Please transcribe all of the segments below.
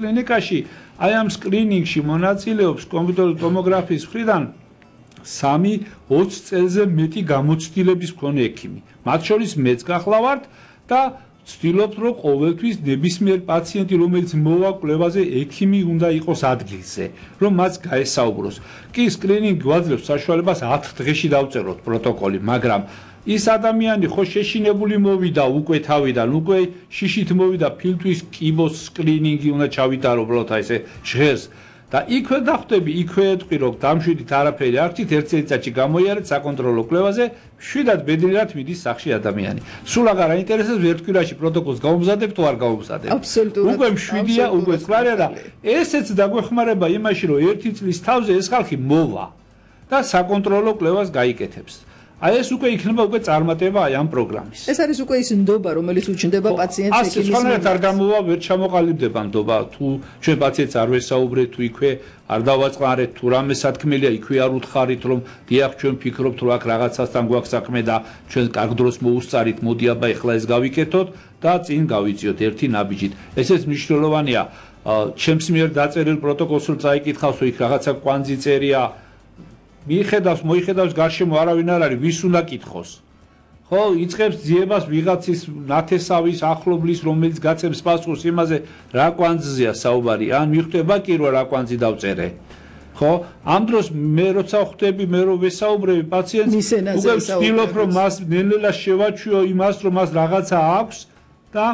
კლინიკაში აი ამ სკრინინგში მონაწილეობს კომპიუტერული ტომოგრაფიის მხრიდან 3-20 წელზე მეტი გამოცდილების მქონე ექიმი. მათ შორის მეც გახლავართ და ვცდილობთ, რომ ყოველთვის ნებისმიერ პაციენტი, რომელიც მოვა კვლევაზე, ექიმი უნდა იყოს ადგილზე, რომ მას გაესაუბროს. კი სკრინინგი გვაძლევს საშუალებას 10 დღეში დავწეროთ პროტოკოლი, მაგრამ ის ადამიანი ხო შეშინებული მოვიდა უკვე თავიდან, უკვე შიშით მოვიდა ფილტვის კიბოს სკრინინგი უნდა ჩავითარო უბრალოდ აი ესე ჟღერს და იქვე დახვდები, იქვე ეტყვი რომ დამშვიდით არაფერი არ გჭირთ, ერთ წელიწადში გამოიარეთ საკონტროლო კვლევაზე, შვიდად ბედნიერად მიდის სახში ადამიანი. სულ აღარ აინტერესებს ერთ კვირაში პროტოკოლს გავუმზადებ თუ არ გავუმზადებ. აბსოლუტურად. უკვე მშვიდია, უკვე წყარია და ესეც დაგვეხმარება იმაში, რომ ერთი წლის თავზე ეს ხალხი მოვა და საკონტროლო კვლევას გაიკეთებს. აი ეს უკვე იქნება უკვე წარმატება აი ამ პროგრამის. ეს არის უკვე ის ნდობა, რომელიც უჩნდება პაციენტს ექიმის. ასე სხვანაირად არ გამოვა, ვერ ჩამოყალიბდება ნდობა, თუ ჩვენ პაციენტს არ ვესაუბრეთ, თუ იქვე არ დავაწყარეთ, თუ რამე სათქმელია, იქვე არ უთხარით, რომ დიახ, ჩვენ ფიქრობთ, რომ აქ რაღაცასთან გვაქვს საქმე და ჩვენ კარგ დროს მოუსწარით, მოდი აბა ეხლა ეს გავიკეთოთ და წინ გავიწიოთ ერთი ნაბიჯით. ესეც მნიშვნელოვანია. ჩემს მიერ დაწერილ პროტოკოლს რომ წაიკითხავს, იქ რაღაცა კვანძი წერია. მოიხედავს გარშემო არავინ არ არის, ვის უნდა კითხოს. ხო, იწყებს ძიებას ვიღაცის ნათესავის ახლობლის, რომელიც გაცემს პასუხს იმაზე, რა კვანძზეა საუბარი, ან მიხვდება კი რომ რა კვანძი დავწერე. ხო, ამ დროს მე როცა ხვდები, მე რო ვესაუბრები პაციენტს, უკვე ვცდილობ რომ მას ნელ-ნელა შევაჩვიო იმას, რომ მას რაღაცა აქვს და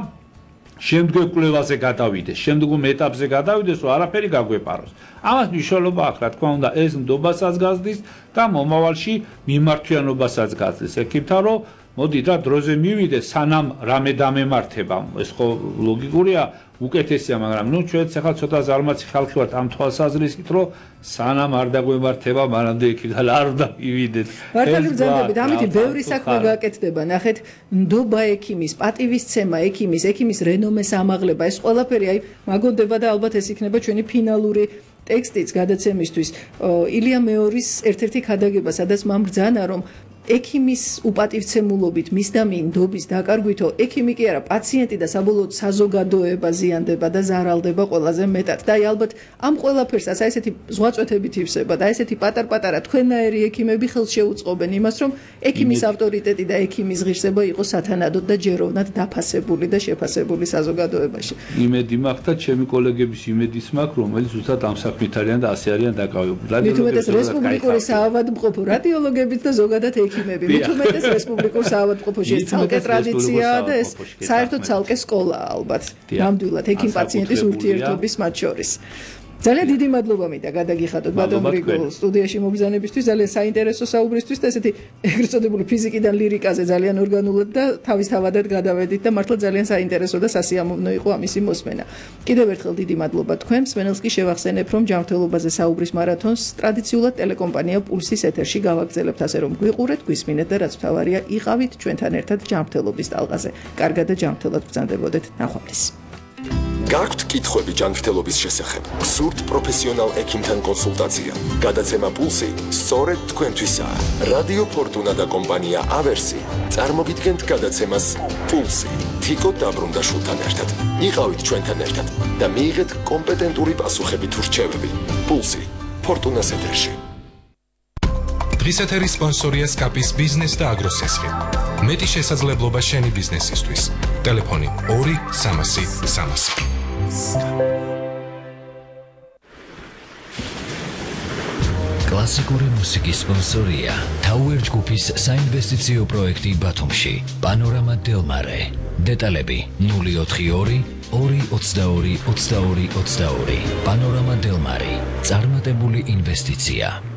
შემდგომ კვლევაზე გადავიდეს, შემდგომ ეტაპზე გადავიდეს, რომ არაფერი გაგვეპაროს. ამას მნიშვნელობა აქვს, რა თქმა უნდა, ეს ნდობასაც გაზრდის და მომავალში მიმართვიანობასაც გაზრდის. ეკითხა, რომ მოდით რა დროზე მივიდეს, სანამ რამე დამემართება. ეს ხო ლოგიკურია, უკეთესია, მაგრამ ნუ ჩვენც ახლა ცოტა ზარმაცი ხალხი ვართ ამ თვალსაზრისით, რომ სანამ არ დაგვემართება, მანამდე იქიდან არ უნდა მივიდეთ. მართალი ბრძანდებით, ამითი ბევრი საქმე გაკეთდება. ნახეთ, ნდობა ექიმის, პატივისცემა ექიმის რენომეს ამაღლება, ეს ყველაფერი აი მაგონდება და ალბათ ეს იქნება ჩვენი ფინალური ტექსტიც გადაცემისთვის. ილია მეორის ერთ-ერთი ქადაგება, სადაც მან ბრძანა, რომ ექიმის უპატივცემულობით მის და ნდობის დაკარგვითო ექიმი კი არა პაციენტი და საბოლოოდ საზოგადოება ზიანდება და ზარალდება ყველაზე მეტად და აი ალბათ ამ ყველაფერსაც აი ესეთი ზღვაწვეთებით ივსება და ესეთი პატარ-პატარა თქვენაერი ექიმები ხელს შეუწყობენ იმას რომ ექიმის ავტორიტეტი და ექიმის ღირსება იყოს სათანადოდ და ჯეროვნად დაფასებული და შეფასებული საზოგადოებაში. იმედი მაქვს და ჩემი კოლეგების იმედიც მაქვს რომელიც ზუსტად ამ საქმით არიან და ასე არიან დაკავებული. რადიოლოგების რესპუბლიკური საავადმყოფო რადიოლოგებიც და ზოგადად მით უმეტეს რესპუბლიკურ საავადმყოფოში ეს ცალკე ტრადიციაა და ეს საერთოდ ცალკე სკოლაა ალბათ ნამდვილად ექიმ პაციენტის ურთიერთობის მათ შორის. ძალიან დიდი მადლობა მინდა გადაგიხადოთ ბატონ გრიგოლ სტუდიაში მოგზავნებისთვის, ძალიან საინტერესო საუბრისთვის და ესეთი ეგრეთ წოდებული ფიზიკიდან ლირიკაზე ძალიან ორგანულად და თავისთავადად გადავედით და მართლა ძალიან საინტერესო და სასიამოვნო იყო ამისი მოსმენა. კიდევ ერთხელ დიდი მადლობა თქვენ. მსმენელს კი შევახსენებ, რომ ჯანმრთელობაზე საუბრის მარათონს ტრადიციულად ტელეკომპანია პულსის ეთერში გავაგრძელებთ, ასე რომ გვიყურეთ, გვისმინეთ და რაც მთავარია, იყავით ჩვენთან ერთად ჯანმრთელობის ტალღაზე. კარგად და ჯანმრთელად ბრძანდებოდეთ. ნახვამდის. გაქვთ კითხვები ჯანმრთელობის შესახებ? გსურთ პროფესიონალ ექიმთან კონსულტაცია? გადაცემა პულსი სწორედ თქვენთვისაა. რადიო ფორტუნა და კომპანია ავერსი წარმოგიდგენთ გადაცემას პულსი. თიკო დაბრუნდაშვილთან ერთად. იყავით ჩვენთან ერთად და მიიღეთ კომპეტენტური პასუხები თუ რჩევები. პულსი ფორტუნას ეთერში. დღის ეთერის სპონსორია სკაპის ბიზნეს და აგროსესხი. მეტი შესაძლებლობა შენი ბიზნესისთვის. ტელეფონი 2-300-300. კლასიკური მუსიკის სპონსორია Tower ჯგუფის საინვესტიციო პროექტი ბათუმში. პანორამა დელმარე. დეტალები 042 222 22 22. პანორამა დელმარი. წარმატებული ინვესტიცია.